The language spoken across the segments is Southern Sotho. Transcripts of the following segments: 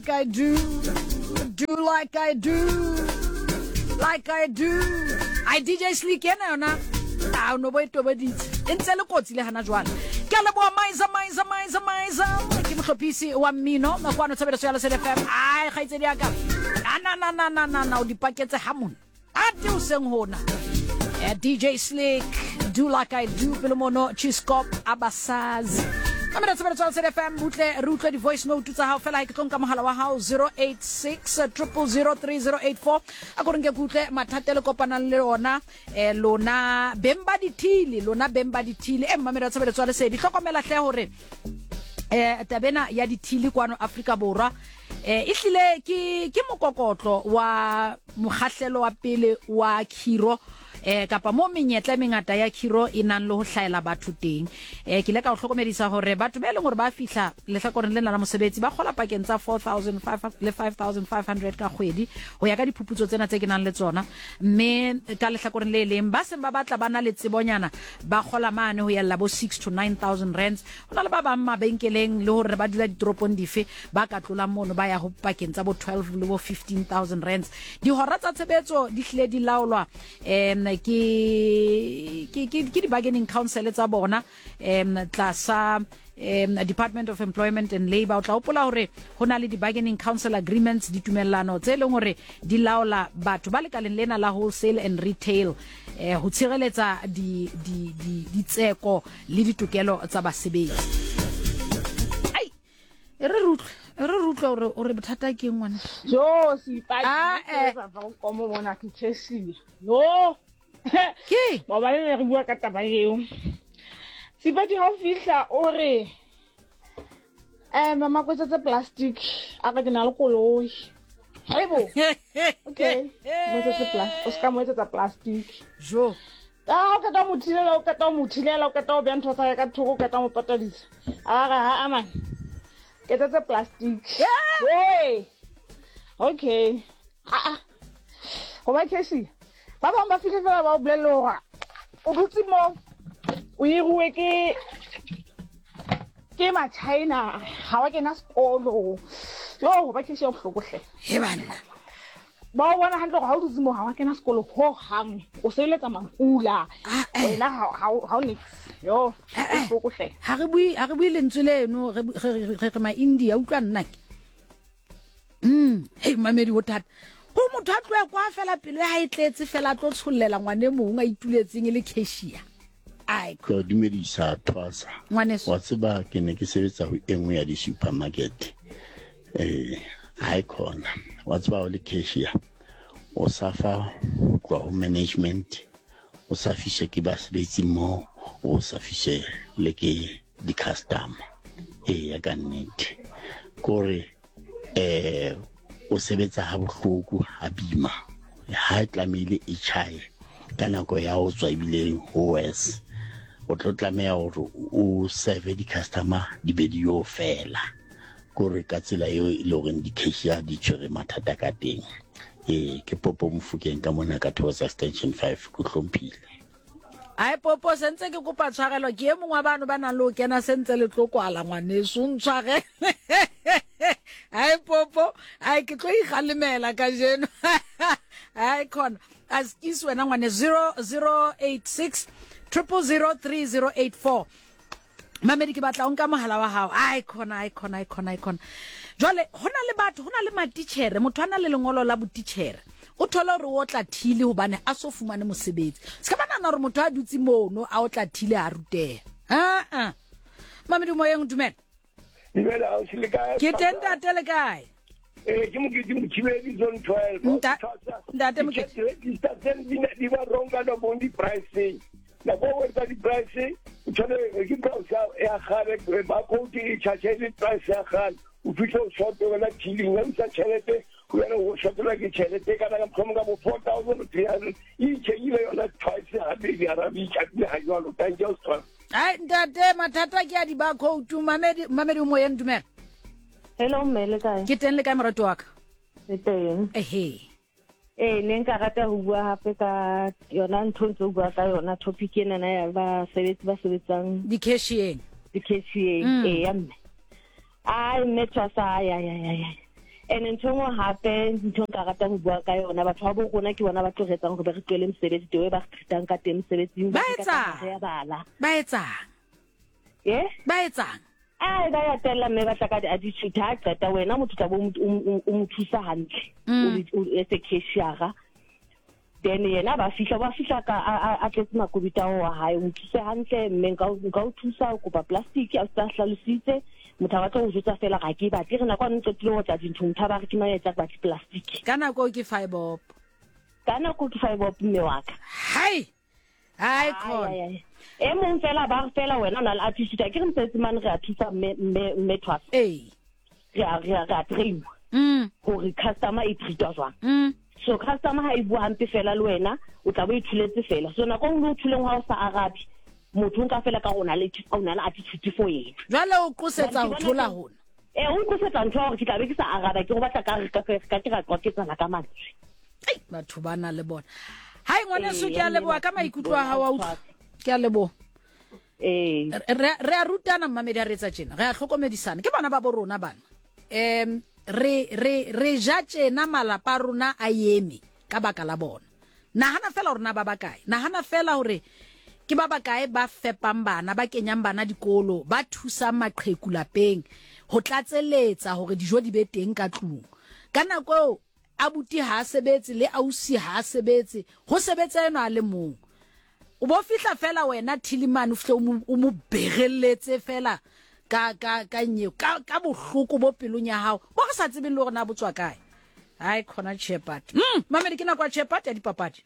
like I do, do like I do, like I do. Ai DJ Slick ena yona a o no bo e tobeditse e ntse le kotsi le hana jwale. Ke a leboha Maiza Maiza Maiza Maiza ke mohlophisi wa mmino kwano tshebeletso ya Lesedi FM. Ai kgaitsedi ya ka. Na na na na na na o di paketse ha mona. Ate o seng hona. Eh, DJ Slick, Do Like I Do, pele mono Chiskop Abasazi. Mamela tshebeletso ya Lesedi FM, butle re utlwe di-voice note tsa hao fela ha ke tlo nka mohala wa hao 086 000 3084 a ko re nke ke utlwe mathata e le kopanang le ona eh, lona beng ba dithili lona beng ba dithili e mmamelo ya tshebeletso ya lesedi hlokomela hle hore eh tabena ya dithili kwano Afrika Borwa eh ehlile ke ke mokokotlo wa mokgahlelo wa pele wa khiro eh kapa mo menyetla e mengata ya khiro e nang le ho hlahela batho teng. Eh ke ile ka o hlokomedisa hore batho ba e leng hore ba fihla lehlakoreng lena la mosebetsi ba kgola pakeng tsa 4500 le 5500 ka kgwedi ho ya ka diphuputso tsena tse ke nang le tsona, mme ka lehlakoreng le leng ba seng ba batla ba na le tsebonyana ba kgola mane ho yella bo 6 to 9000 rands. Ho na le ba bang mabenkeleng le hore ba dula ditoropong dife ba ka tlolang mono ba ya ho pakeng tsa bo 12 le bo 15000 rands. Dihora tsa tshebetso di hlile di laolwa um ke ke ke ke di-bargaining council tsa bona um tlasa um Department of Employment and Labour. O tla hopola hore ho na le di-bargaining council agreements, ditumellano tse leng hore di laola batho ba lekaleng lena la wholesale and retail eh, ho tshireletsa di, di, di, ditseko le ditokelo tsa basebetsi. Ai, e re re utlwe, e re re utlwe hore hore bothata ke eng ngwana. Jo, seipati, Ah, eh. ke sa komo mona ke cashier. No. Ke? Maobane ne re bua ka taba eo. Seipati ha o fihla o re eh mama ko tse plastic a re ke na le koloi. Haibo. Okay. Mo etsetse plastic. O ska mo etsetsa plastic. Jo. Ka o qeta ho mo thilela, o qeta ho mo thilela, o qeta ho beha ntho tsa hae ka thoko, o qeta ho mo patadisa. A re ha aman. Ke etsetse plastic. Hey. Okay. Ah ah. Go ba cashier. Ba bang ba fihle fela ba o bolelle hore o dutse mo o hiruwe ke ke ma-China ha wa kena sekolo. Yo go ba cashier bohloko hle. He banna. Ba o bona hantle gore ha o dutse mo ha wa kena sekolo ho hang. O sebeletsa mapula. Ah, eh. Wena ha o nix. Yo, Eh, eh. bohloko hle. Ha re bue ha re bue lentswe leno re re re re ma India utlwa nna ke. Hey mamedi ho thata. Ho motho a tloha kwa fela pelo ya hae e tletse fela a tlo tshollela ngwane mong a ituletseng e le cashier. Ai. Ke a dumedisa Thwasa. Ngwaneso. Wa tseba ke ne ke sebetsa ho e nngwe ya di-supermarket. Eh, ha e khona. Wa tseba o le cashier o safa ho tloha ho management, o sa fiswe ke basebetsi moo, o sa fiswe le ke di-customer. Eya ka nnete. Kore eh o sebetsa ha bohloko ha bima ha e tlamehile e tjhaye ka nako ya ho tswa ebile ho worse o tlo tlameha hore o serve di-customer di be di yo fela kore ka tsela eo e le horeng di-cashier di tshwere mathata ka teng. Ee, ke Popo Mofokeng ka mona ka Thokoza Extension 5 ke hlomphile. Ai Popo sentse ke kopa tshwarelo ke e mongwe wa bano ba nang le ho kena sentse le tlo kwala ngwaneso o ntshwarele. Ai Popo ai ke tlo ikgalemela kajeno. Ai khona askis wena ngwane 0086 000 3084. Mamedi ke batla o nka mohala wa hao. Ai khona ai khona ai khona ai khona. Jwale ho na le batho ho na le matitjhere motho a na le lengolo la botitjhere. O thole hore o otla thile hobane a so fumane mosebetsi. Se ka ba nahana hore motho a dutse mono a otla thile a ruteha. Aa. Mamedi moyeng dumela. Dumela ausi le kae? Ke teng ntate le kae? Eh ke Mokete Mothibedi zone 12. Ntate Mokete. Register tse di ne di ba wrong ka no bong di price. Nako o etsa di price o tshwane ke price ya kgale ba code e charge le price ya kgale. O fihle o short wena killing ya isa tjhelete o yana o shortelwa ke tjhelete kana ka mohlomong ka bo 4300 e itjhekile yona twice habedi arabi itjhakile ha jwalo. Thank you Australia. Ai ntate mathata ke a di ba code mamedi mamedi o moyeng dumela. Hello mme le kae? Ke teng le kae morati wa ka? Le teng. Ehe. Ee, ne nka rata ho bua hape ka yona ntho ntse o bua ka yona topic enana ya basebetsi ba sebetsang di-cashier-eng. Di-cashier-eng, ee ya mme. Ai mme Tshwasa, ai ai ai ai. And ntho e nngwe hape, ntho nka ratang ho bua ka yona, batho ba bo rona ke bona ba tlo re etsang hore be re tlohele mosebetsi, the way ba re treat-ang ka teng mosebetsing, Ba ba re nka etsang? ka re ya bala. Ba etsang? Eh? Ba etsang? Ai, ba ya tella mme ba tla ka di-attitude. Ha qeta wena motho tla bo o mo thusa hantle. O le o as a cashier-a. Then yena ba fihla, ba fihla ka a tletse makobita ao wa hae, o mo thuse hantle mme nka nka o thusa o kopa plastic a se hlalositse. Motho a batla ho jwetsa fela ga ke batle re nako a qetile ho tla dintho motho a ba re ke mang ya etsa batle plastic. Ka nako ke five up. Ka nako ke five up mme wa ka. Hai. Hai khona. E mong fela ba re fela wena o na le attitude a ke re mosebetsi mane re a thusa mme mme mme Thwasa. Ee. Re a re a re a train-wa. Hore customer e treat-wa jwang. So customer ha e bua hampe fela le wena o tla bo e thuletse fela. So nako e nngwe o thuleng ha o sa arabe motho o nka fela ka gore o na le o na le attitude for yena. Jwale o qosetsa ho thola hona. Ee, o nqosetsa ntho ya hore ke tla be ke sa araba ke go batla ka re ka ka ke ra qwaketsana ka mantswe. Ei, batho ba na le bona. Hai ngwaneso ke a leboha ka maikutlo a hao a utlwa. Ke a leboha. Ee. Re re a rutana mmamedi a re etsa tjena. Re a hlokomedisana. Ke bana ba bo rona bana. Um re re re ja tjena malapa a rona a eme ka baka la bona. Nahana fela hore na ba bakae. Nahana fela hore ke ba bakae ba fepang bana, ba kenyang bana dikolo, ba thusang maqheku lapeng ho tlatseletsa hore dijo di be teng ka tlung. Ka nako eo abuti ha a sebetse le ausi ha a sebetse, ho sebetsa enwa a le mong. O bo fihla fela wena Thilimane o fihle o mo o mo berelletse fela ka ka ka nyeo ka ka bohloko bo pelong ya hao bo re sa tsebeng le hore na bo tswa kae. Hai khona Shepherd. Mamedi ke nako ya Shepherd ya dipapadi.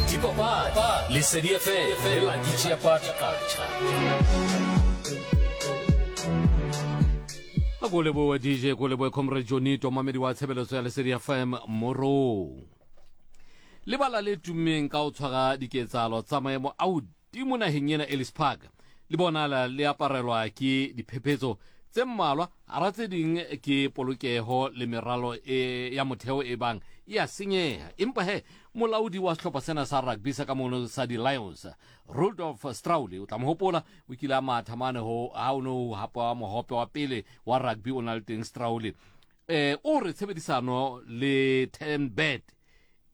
Dipapadi, Lesedi FM le Lucky Shepherd Qacha. A ko leboe DJ, ko leboe Comrade Jonito, mamedi wa tshebeletso ya Lesedi FM Morong. Lebala le tummeng ka ho tshwara diketsahalo tsa maemo a hodimo naheng ena Ellis Park le bonala le aparelwa ke diphephetso tse mmalwa hara tse ding ke polokeho le meralo e ya motheo e bang e a senyeha. Empa he molaodi wa sehlopha sena sa rugby sa ka mono sa di-Lions Rudolf Strauli o tla mo hopola o kile a matha mane ho ha o no hapa mohope wa pele wa rugby o na le teng Strauli eh o re tshebedisano le Ten Bet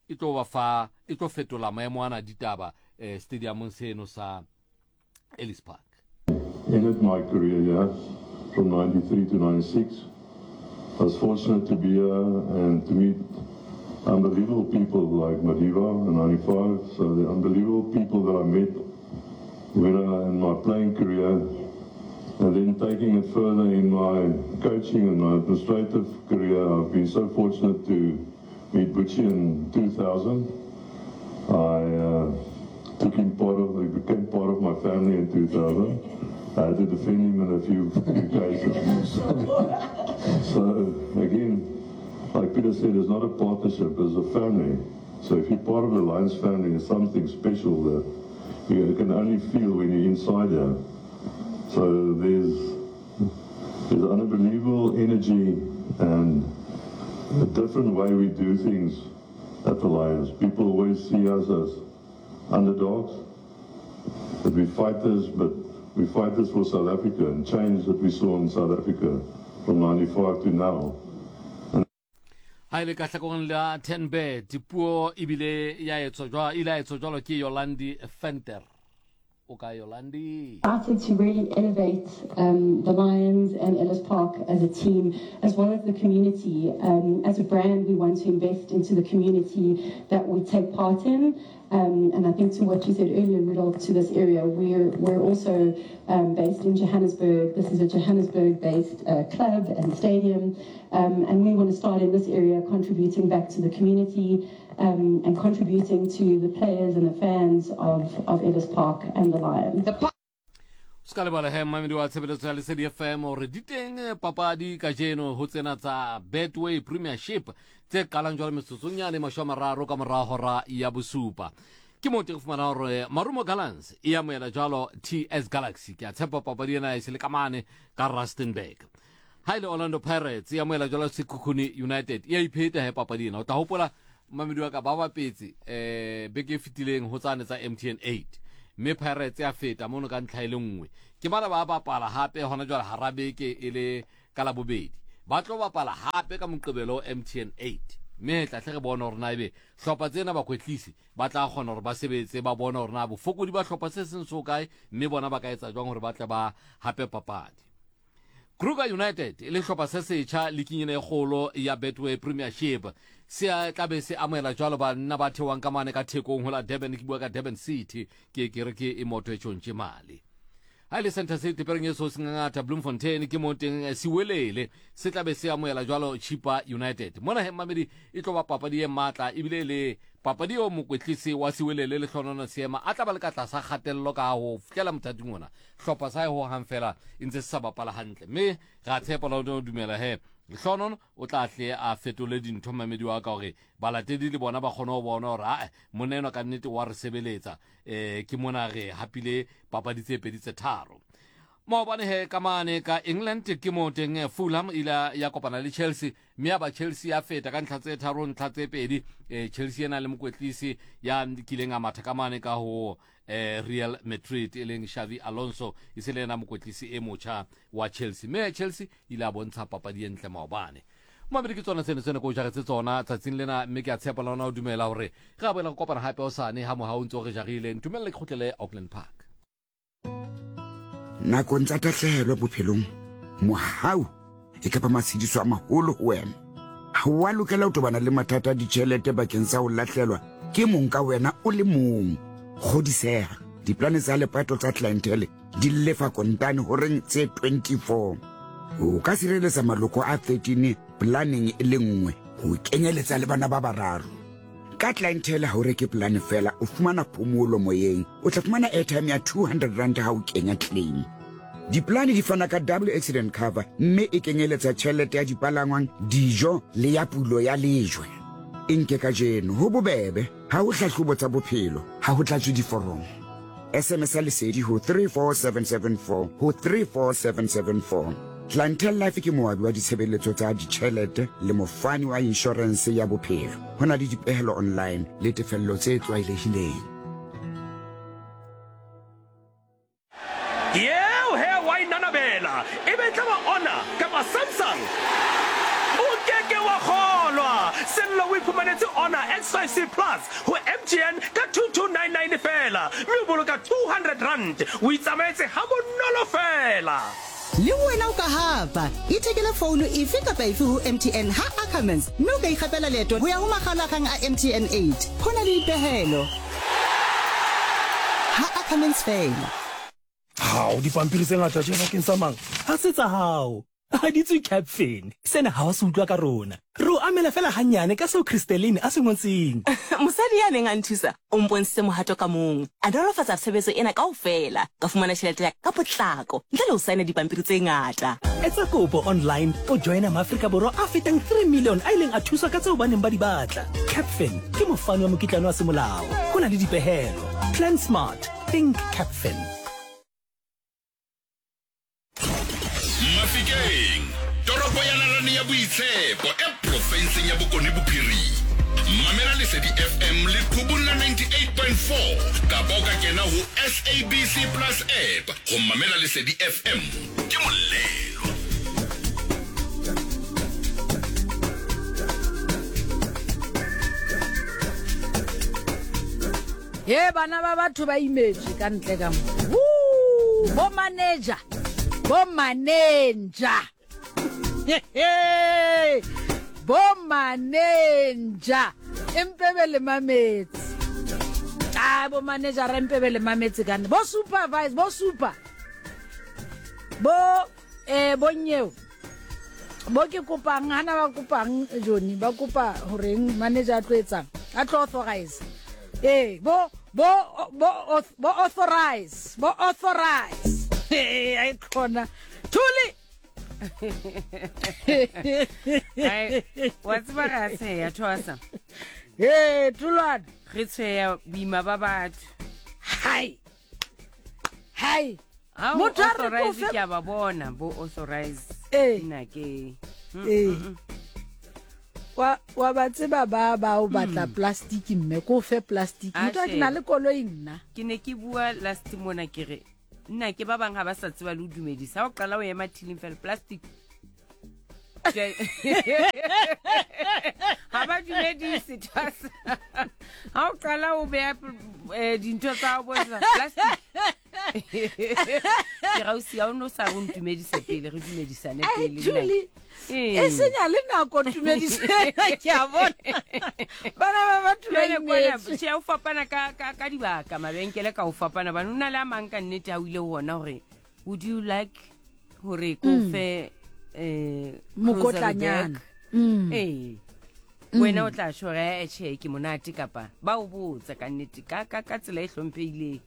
e tlo ba fa e tlo fetola maemo ana ditaba eh stadiumong seno sa Ellis Park. Ended my career here from 93 to 96. I was fortunate to be here and to meet unbelievable people like Madiba in 95. So the unbelievable people that I met when I, in my playing career, and then taking it further in my coaching and my administrative career, I've been so fortunate to meet Butchie in 2000. I took him part of, he became part of my family in 2000. I had to defend him in a few, few cases. So again, like Peter said, it's not a partnership, it's a family. So if you're part of the Lions family, it's something special that you can only feel when you're inside here. So there's there's unbelievable energy and a different way we do things at the Lions. People always see us as underdogs, that we fight this, but we fight this for South Africa and change that we saw in South Africa from 95 to now. Ha e le ka hlakoreng la Tenbet, puo ebile ya etswa jwa ile ya etswa jwalo ke Yolandi Venter. O ka Yolandi? Excited to really elevate um, the Lions and Ellis Park as a team, as well as the community. Um, as a brand, we want to invest into the community that we take part in. Um, and I think to what you said earlier, Rudolph, to this area, we're, we're also um, based in Johannesburg. This is a Johannesburg-based uh, club and stadium. Um, and we want to start in this area contributing back to the community um, and contributing to the players and the fans of, of Ellis Park and the Lions. The se ka lebala he mmamedi wa tshebeletso ya lesedi fm gore di teng eh, papadi kajeno ho tsena tsa betway premiership tse qalang jwale metsotsong yane masho a mararo ka mora hora ya bosupa ke moo te re fumana gore marumo gallants e amohela jwalo ts galaxy ke a tshepa papadi ena e se le ka mane ka rustenburg ha e le orlando pirates e amohela jwalo sekhukhune united e a ipheta he papadi ena o tla hopola mamedi wa ka ba bapetse um beke e fetileng ho tsane tsa mtn 8 mme pirates ya feta mono ka ntlha e le nngwe ke bana ba bapala hape hona jwale hara beke e le ka Labobedi. Ba tlo bapala hape ka Moqebelo MTN 8. Mme tla hle re bone hore na ebe hlopha tsena bakwetlisi ba tla kgona hore ba sebetse ba bone hore na bofokodi ba hlopha se seng so kae mme bona ba ka etsa jwang hore ba tle ba hape papadi. Kruger United e le hlopha se setjha liking ena e kgolo ya Betway Premiership se tla be se amohela jwalo banna ba theohang ka mane ka thekong ho la Durban ke bua ka Durban City ke ke re ke e moto e tšontše mali ha e le Center City pereng e so sengangata Bloemfontein ke mo teng eh, Siwelele se tla be se amohela jwalo Chippa United mona he mamedi e tlo ba papadi e matla ebile e le papadi eo mokwetlisi wa Siwelele le Hlonono Seema a tla ba le ka tlasa kgatello ka ho fihlela mothating ona hlopha sa ho hang fela e ntse se sa bapala hantle mme ra tshepa la o dumela he Hlonono o tla hle a fetole dintho mamedi wa ka gore balatedi le bona ba kgone go bona gore ae monna enwa ka nnete wa re sebeletsa um ke mona re hapile papadi tse pedi tse tharo maobane he ka mane ka england ke mo teng eh, fulham ile ya kopana le chelsea mme ya ba chelsea ya feta ka ntlha tse tharo ntlha tse pedi um chelsea ena le mokwetlisi ya kileng a matha ka mane ka ho eh, real madrid e leng xavi alonso e se le ena mokwetlisi e motjha wa chelsea mme chelsea ile a bontsha papadi e ntle maobane Mamedi ke tsona tseno tsene ko jagetse tsona tsatsing lena mme ke a tshepa le ona o dumela gore ge a boela go kopana gape osane ga moga o ntse o re jagile ntumelele ke kgotlele Auckland Park. Nakong tsa tahlehelo bophelong, mohau e ka ba matshediso a maholo ho wena. Ha wa lokela ho tobana le mathata a ditjhelete bakeng sa ho lahlelwa ke mong ka wena o le mong. Kgodiseha, diplane tsa lepato tsa Clientele di lefa kontane horeng tse 24. O ka sireletsa maloko a 13 polaneng e le nngwe ho kenyeletsa le bana ba bararo. Ka Clientele ha o reke polane fela, o fumana phomolo moyeng. O tla fumana airtime ya 200 rand ha o kenya claim. Dipolane di fana ka double accident cover mme e kenyeletsa tjhelete ya dipalangwang, dijo le ya pulo ya lejwe. E nke kajeno, ho bobebe, ha ho hlahlobo tsa bophelo, ha ho tlatswe diforomo. SMS ya Lesedi ho 34774 ho 34774. Clientele Life ke moabi wa ditshebeletso tsa ditjhelete le mofani wa inshorense ya bophelo. Ho na le dipehelo online le tefello tse tlwaelehileng. Yeo he wa inanabela, e be e tla ba Honor kapa Samsung? O ke ke wa kgolwa! Sello o iphumanetse Honor X5C Plus ho MTN ka 2299 feela mme o boloka R200. O itsamaetse habonolo feela. Le wena o ka hapa! Ithekele founo efe kapa efe ho MTN ha Ackermans mme o ka ikgapela leeto ho ya ho makgaolakgang a MTN 8. Ho na le dipehelo ha Ackermans feela. Hao, dipampiri tse ngata tje bakeng sa mang? Ha se tsa hao. Ha di tswe Capfin. Sena ha wa se utlwa ka rona. Re o amela feela hannyane ka seo Christeline a se ngotseng. Mosadi ya neng a nthusa o mpontshitse mohato ka mong. A nolofatsa tshebetso ena kaofela. Ka fumana tjhelete ya ka ka potlako ntle le ho saena dipampiri tse ngata. Etsa kopo online o joina Maafrika Borwa a fetang 3 million a ileng a thuswa ka tseo ba neng ba di batla. Capfin ke mofani wa mokitlane wa semolao. Ho na le dipehelo. Plan smart. Think Capfin. Mafikeng, toropo ya nalane ya boitshepo e profenseng ya Bokone Bophirima. Mamela Lesedi FM leqhubung la 98.4 kapa o ka kena ho SABC Plus app ho mamela Lesedi FM. Ke molelo. Ye bana ba batho ba imetswe ka ntle ka mo. Woo! Bo manager. Bo manager. Bo manager. Empebe le mametse. Ah bo manager re empebe le mametse ka nne. Bo supervise, bo super. Bo eh bo nyeo. Bo ke kopang hana ba kopang Johnny ba kopa horeng manager a tlo etsang a tlo authorize ee bo bo bo bo authorize bo authorize ee ai khona thuli Ai, wa tseba re a tsheya thoasa ee thulwane re tsheya boima ba batho hai hai Ha o Motho a re authorize ko fe- ke a ba bona bo authorize Ee. nna ke Ee. wa wa ba tseba ba ba o batla plastic mme ko fe plastic A motho a ke na shebe. le koloi nna ke ne ke bua last mona ke re nna ke ba bang ga ba sa tseba le o dumedisa ga o qala o ema thiling fela plastic Ga ba dumedise thwasa. Ga o qala o beya eh, dintho tsa o bontsha plastic. Ke gausi ga o ne o sa re o ntumedise pele re dumedisane pele. Julie, e senya le nako tumedise ke a bona. Bana ba batho ba imetse. Tjhe, o fapana ka ka ka dibaka mabenkele ka o fapana bana o na le a mang ka nnete ha o ile ho ona hore would you like hore ko mm. fe eh mokotlanyana mm. ee wena o tla shore eh tjhe ke monate kapa ba o botsa ka nnete ka ka ka tsela e hlomphehileng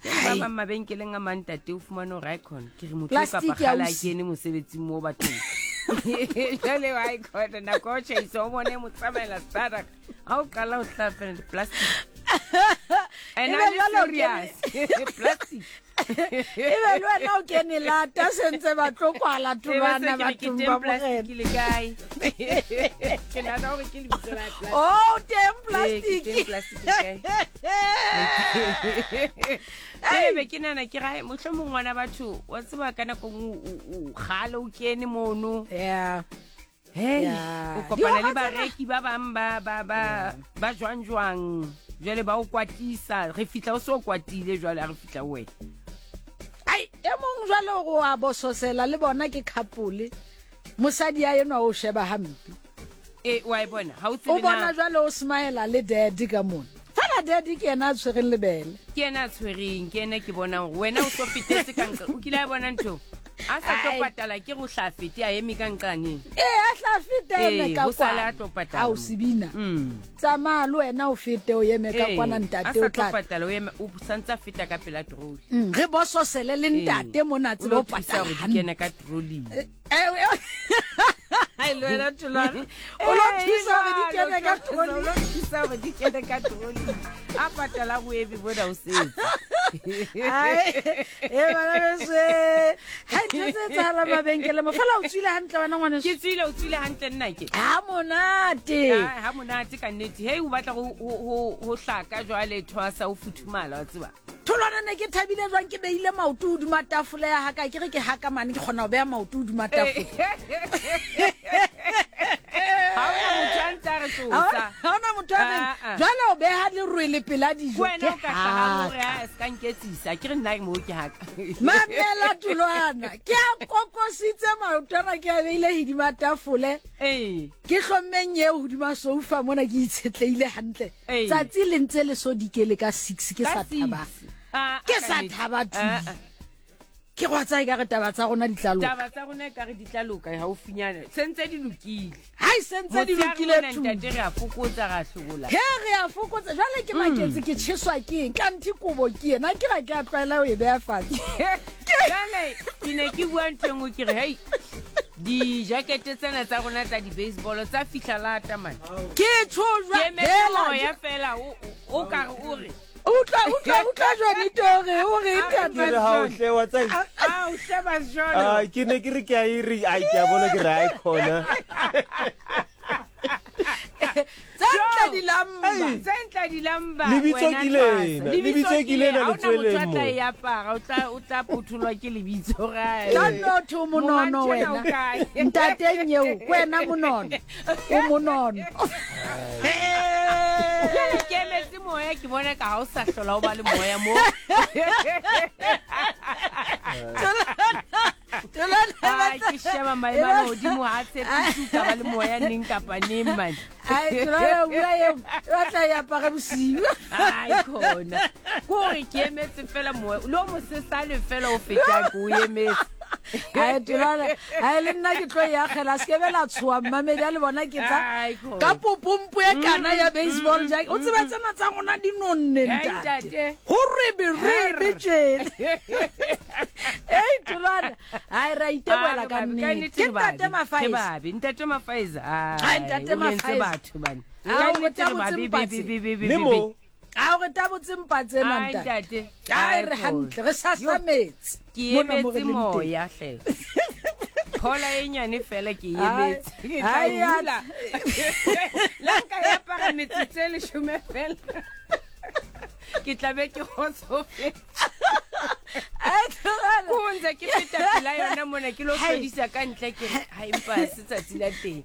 ba bang mabenkeleng a mang tate o fumane hore icon ke re motho kapa kgale a kene mosebetsing mo bathong jale wa icon nako ya ho tjhaisa o bone mo tsamaela startup ga o qala o tla fela di-plastic and Ebe I'm jwale o serious plastic e be le wena o kene lata sentse ba tlo kwala tholwana bathong ba plastic le kae ke nahana gore ke lebitso la plastic oh teng Ee, ke teng plastic plastic le kae Ee, be ke nahana ke rae mohlomong ngwana batho wa tseba ka nako nngwe o kgale o kene mono yeah Hey, Yeah. o kopana le Dihora tsena- bareki ba bang ba ba ba ba jwang jwang jwale ba o kwatisa re fihla o se o kwatile jwale a re fihla ho wena ai e mong jwale o a bososela le bona ke couple mosadi ya enwa o sheba hampe e wa e bona ha o o tsebe bona na jwale o smile le daddy ka mona fela daddy ke yena a tshwereng lebele ke yena a tshwereng ke yena ke bonang gore wena o so fetetse ka nqa o kile a bona ntho a sa tlo patala ke go hla fete a eme ka nqaneng ee a hla fete a eme ka o sale a tlo patala ao sebina tsamaya le wena o fete o eme ka kwana ntate o tla patala o eme o santse a feta ka pela troli mm, re bososele le ntate mona tsebe o patala gore di kene ka troli Ai, le wena Tholwana. O lo thusa hore di kene ka troli. O lo thusa hore di kene ka troli. A patala go ebe bona o setse. Ai, e bana beso. Ha ntho tse etsahala mabenkele mo. Fela o tswile hantle wena ngwaneso. Ke tswile o tswile hantle nna ke. Ha monate. Ha monate ka nnete. Hei o batla go go hlaka jwale thwasa o futhumala wa tseba. Tholwana ne ke thabile jwang ke beile maoto hodima tafole ya haka ke re ke haka mane ke kgona ho beha maoto hodima tafole. Ha hona motho a ntse a re tsosa. Ha hona motho a reng Ah, ah. jwale o beha lerwele pela dijo. Wena o Ke ka hlaha hore haka. a se ka nketsisa ke re nna mo ke haka. Mamela Tholwana ke a kokositse maoto ana ke a beile hodima tafole. Ee. Ke hlommeng eo hodima soufa mona ke itshetleile hantle. Ee. Tsatsi le ntse le so dikele ka 6 ke Ka sa six. thaba. Ah, Ke ah, sa nnete. thaba tu. Ah, ah. Ke go tsaya ka re taba tsa rona di tla loka. Taba tsa rona ekare di tla loka haufinyana. Sentse di lokile. Hai sentse di Motshehare lokile mona tu. ntate re a fokotsa ra hlobola. He re a fokotsa jwale ke maketse ke tjheswa ke eng kanthe kobo ke ena ke ga ke a tlwaela ho e beha fatshe. Jwale ke ne ke bua ntho e nngwe ke re hei dijakete tsena tsa rona tsa di-baseball tsa fihla lata mane. Ke tjho Ke jwa emetse hela moya fela o o ka re o re utlwa utlwa utlwa Jonito hore o re Ke re ha o hle wa tseba. Ah, o sheba jwalo. Ah, ke ne ke re ke a e re ai ke a bona ke re ai khona. Tse ntle di lamba. Tse ntle di lamba. Lebitso wena ke lena, Tlasa. lebitso ke lena Ha le hona motho tsweleng a tla mo. e apara, o tla o tla phutholwa ke lebitso ra. Tla nno thwe o monono Monga wena. ntjena o kae? Ntateng eo, ke wena monono. O monono. Jwale ke emetse moya ke bona ka ha o sa hlola o ba le moya mo. Ai, ke sheba maemo a lehodimo ha a tshepise o ka ba le moya neng kapa neng mane. Ai, Tholwana o bua eo, o batla e apare bosiu. Ai khona. Ke hore ke emetse fela moya. Le o mosesane fela o fetang ke o emetse. Ai, Tholwana, ai le nna ke tlo e akgela, se ke be la tshoha mmamedi a le bona ke tsa Ai, khona. ka popompo e kana ya baseball jacket. O tseba tsena tsa rona di nonne Ai, ntate. ntate. Ho rebe tjena. Ei, Tholwana, ai ra itebohela ka nnete. Ke ntate Mafaisa. Ke babe, ntate Mafaisa. Ai, ntate o entse Mafaisa. batho bane. Ai, Ka o nnete re tabotse babe, mpatse. be, be, be, be, Le be, mo. be. A o re tabotse mpa tsena Ai, ntate. ntate. Ai, Ai, re khona. hantle, re sasametse. Ke Mona mo re emetse leng teng. moya hle. Phola e nyane fela ke e Ai, emetse. Ke tla ai, e ai. hula. La nka e apara metsotso e leshome fela. Ke tla be ke kgotsofetse. Ai, Tholwana. Ko ntse ke feta pela yona mona ke lo hlodisa ka ntle ke re ha empa se tsatsi la teng.